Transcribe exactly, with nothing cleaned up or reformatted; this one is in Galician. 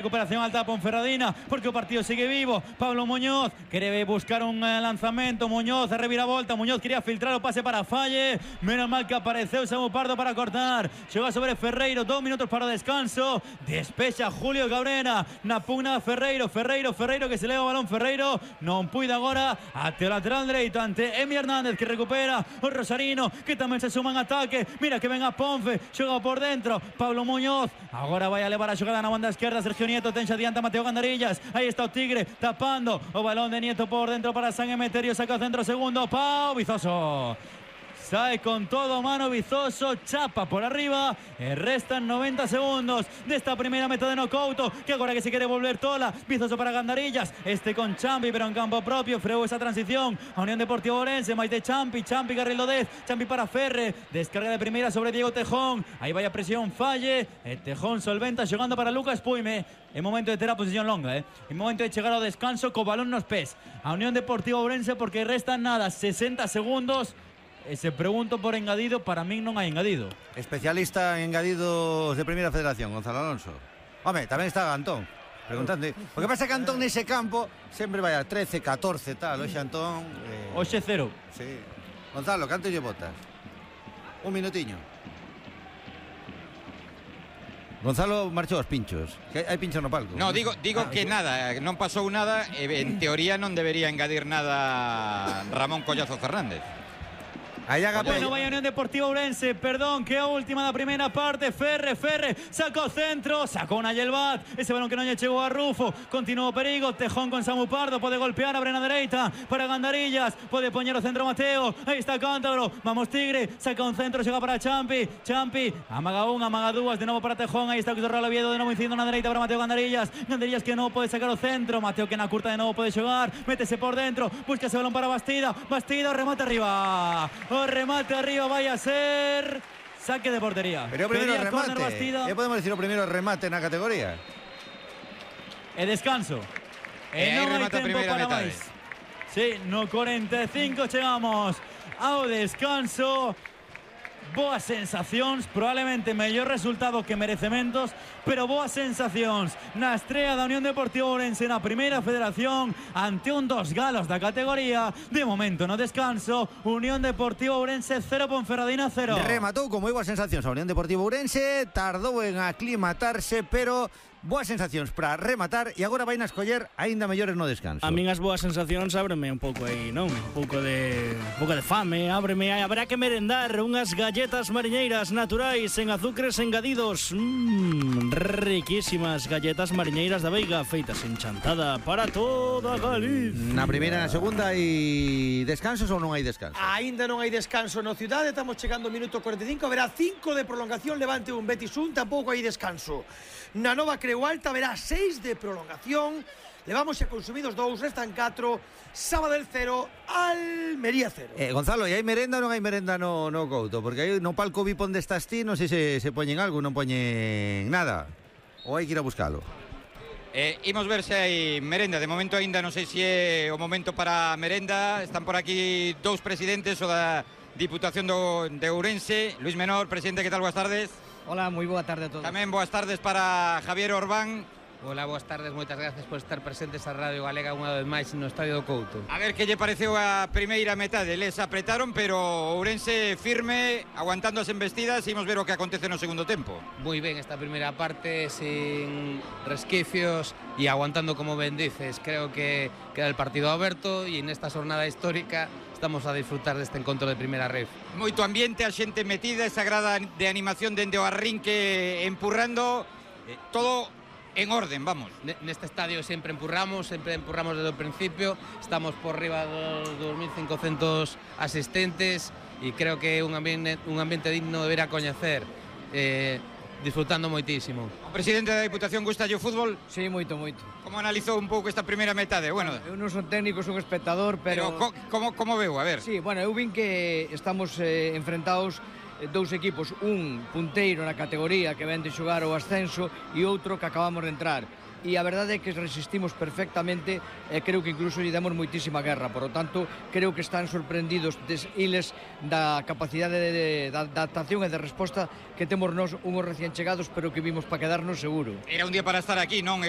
Recuperación alta Ponferradina, porque o partido sigue vivo. Pablo Muñoz quere buscar un eh, lanzamento. Muñoz a reviravolta. Muñoz quería filtrar o pase para Falle. Menos mal que apareceu Samu Pardo para cortar. Chegou sobre Ferreiro. Dos minutos para o descanso. Despexa Julio Cabrera. Na pugna Ferreiro. Ferreiro, Ferreiro que se leva o balón. Ferreiro non puide agora ate o lateral dereito ante Emi Hernández que recupera o Rosarino que tamén se suma en ataque. Mira que ven a Ponfe. Xoga por dentro. Pablo Muñoz agora vai a levar a xogada na banda esquerda. Sergio Nieto tenxa adianta Mateo Gandarillas. Aí está o Tigre tapando o balón de Nieto por dentro para San Emeterio. Saca o centro segundo. Pau Vizoso. Sae con todo mano Vizoso, chapa por arriba e restan noventa segundos desta primeira meta de Nocouto, que agora que se quere volver tola. Vizoso para Gandarillas, este con Champi pero en campo propio, freou esa transición a Unión Deportiva Ourense, máis de Champi, Champi carril dez, Champi para Ferre, descarga de primeira sobre Diego Tejón, aí vai a presión Falle, e Tejón solventa xogando para Lucas Puime. É momento de ter a posición longa, eh? É momento de chegar ao descanso co balón nos pés a Unión Deportiva Ourense, porque restan nada, sesenta segundos. E se pregunto por engadido, para min non hai engadido. Especialista en engadidos de Primeira Federación, Gonzalo Alonso. Home, tamén está Antón preguntando. O que pasa é que Antón nese campo sempre vai a trece, catorce, tal. Oxe Antón eh... Oxe cero. Sí. Gonzalo, canto lle botas? Un minutiño. Gonzalo marchou aos pinchos. Que hai pinchos no palco. No, digo, digo ah, que eso. nada, non pasou nada. En teoría non debería engadir nada Ramón Collazo Fernández. Bueno, vai a Unión Deportiva Ourense, perdón, que é a última da primeira parte. Ferre, Ferre, sacou o centro, sacou unha Yelvat, ese balón que non lle chegou a Rufo, continuou o perigo, Tejón con Samu Pardo, pode golpear, abre na dereita para Gandarillas, pode poñer o centro Mateo, aí está Cántabro, vamos Tigre, saca un centro, chega para Champi, Champi, amaga unha, amaga dúas, de novo para Tejón, aí está o Real Oviedo, de novo incidindo na dereita para Mateo Gandarillas, Gandarillas que non pode sacar o centro, Mateo que na curta de novo pode xogar, métese por dentro, busca ese balón para Bastida, Bastida, remate arriba, o remate arriba vai a ser saque de portería. Pero o primeiro remate, e podemos decir o primeiro remate na categoría. E descanso. E, e non hai remata tempo para máis. Sí, no cuarenta e cinco chegamos ao descanso. Boas sensacións, probablemente mellor resultado que merecementos, pero boas sensacións na estrea da Unión Deportiva Ourense na Primeira Federación ante un dos galos da categoría. De momento no descanso, Unión Deportiva Ourense cero, Ponferradina cero. Rematou con moi boas sensacións a Unión Deportiva Ourense, tardou en aclimatarse, pero boas sensacións para rematar e agora vai na escoller aínda mellores no descanso. A min as boas sensacións ábreme un pouco aí, non? Un pouco de un pouco de fame, ábreme aí, habrá que merendar unhas galletas mariñeiras naturais en azúcares engadidos. Mmm, riquísimas galletas mariñeiras da Veiga, feitas en Chantada para toda Galicia. Na primeira e na segunda hai descansos ou non hai descanso? Aínda non hai descanso no Cidade, estamos chegando ao minuto cuarenta e cinco, haberá cinco de prolongación, Levante un, Betis un, tampouco hai descanso. Na Nova Creu Alta haberá seis de prolongación, levamos xa consumidos dous, restan catro, Sabadell cero, Almería cero. Eh, Gonzalo, e hai merenda ou non hai merenda no, no Couto? Porque aí no palco V I P onde estás ti, non sei se, se poñen algo, non poñen nada. Ou hai que ir a buscalo? Eh, imos ver se hai merenda. De momento aínda non sei se é o momento para merenda. Están por aquí dous presidentes o da Diputación do, de Ourense. Luis Menor, presidente, que tal? Boas tardes. Hola, moi boa tarde a todos. Tamén boas tardes para Javier Orbán. Hola, boas tardes, moitas gracias por estar presentes a Radio Galega unha vez máis no Estadio do Couto. A ver que lle pareceu a primeira metade. Les apretaron, pero Ourense firme, aguantando as embestidas. Imos ver o que acontece no segundo tempo. Moi ben esta primeira parte, sin resquicios e aguantando como ben dices. Creo que queda el partido aberto e nesta xornada histórica estamos a disfrutar deste encontro de primeira ref. Moito ambiente, a xente metida, esa grada de animación dende o arrinque empurrando, eh, todo en orden, vamos. Neste estadio sempre empurramos, sempre empurramos desde o principio, estamos por riba dos dos mil cincocentos asistentes e creo que é un ambiente, un ambiente digno de ver a coñecer, eh, disfrutando moitísimo. O presidente da Diputación, gusta o fútbol? Sí, moito, moito. Como analizou un pouco esta primeira metade? Bueno, eu non son técnico, son espectador, pero... pero co, como, como veu? A ver. Sí, bueno, eu vin que estamos eh, enfrentados dous equipos, un punteiro na categoría que ven de xogar o ascenso e outro que acabamos de entrar. E a verdade é que resistimos perfectamente e creo que incluso lle demos moitísima guerra. Por lo tanto, creo que están sorprendidos des iles da capacidade de, de, de adaptación e de resposta que temos nós unhos recién chegados, pero que vimos para quedarnos seguro. Era un día para estar aquí, non? Es